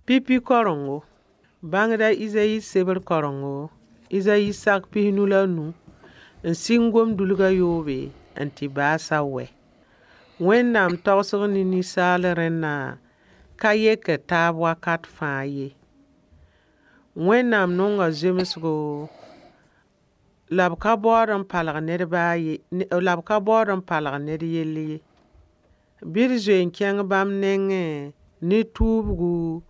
Pipi karengo. Bãngda Izayi sebr karengo, Izayi sak 55 n sɩng gom-dulg a yoobe n tɩ baas a wɛ. Wẽnnaam tagsg ne ninsaal rẽnna ka yekd taab wakat fãa ye. Wẽnnaam nonga zemsgo la b ka baood n palg ned baa ye, la b ka baood n palg ned yell ye. Bɩ d zoe n kẽng bãmb nengẽ ne tuubgu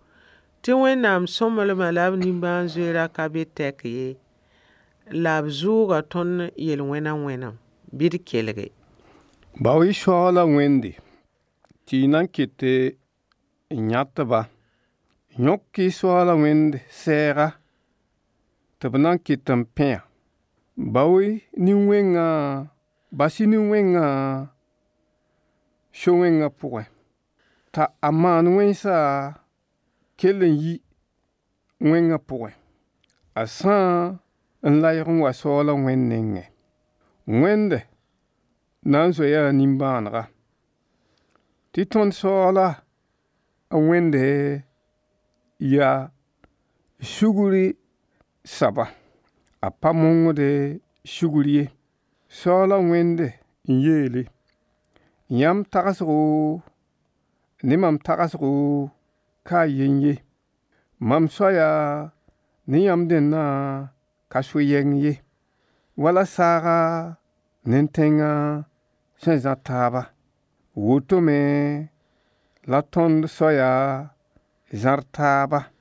tɩ Wẽnnaam sõmblmã la b nimbãan-zoeerã ka be tɛk ye, la b zʋʋga tõnd yel-wẽna wẽnem. Bɩ d kelge. Bao-y soaala Wẽnde tɩ y na n ket n yãt-ba. Yõk-y soaala Wẽnd sɛɛga tɩ b na n ket n pẽ-a. Bao-y nin-wẽngã, bas-y nin-wẽngã so-wẽngã pʋgẽ, t'a a maan wẽnsa kell n yi wẽngã pʋgẽ. A sã n layg n wa soaala Wẽnd nengẽ. Wẽnd na n zoeya a nimbãanega, tɩ tõnd soaala a Wẽnde yaa sugri saba, a pa mongde sugr ye. Soaala Wẽnd n yeele: yãmb tagsgo ne mam tagsgo ka a yen ye. Mam soaya ne yãmb dẽnna ka so yɛng ye. Wala saaga ne tẽngã sẽn zã taaba, woto me la tõnd soaya zãr taaba.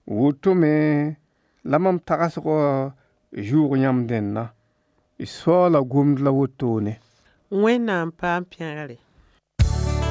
Woto me la mam tagsgã zʋʋg yãmb dẽnna. Soaala gomd la wotone. Wẽnnaam paam pẽgre.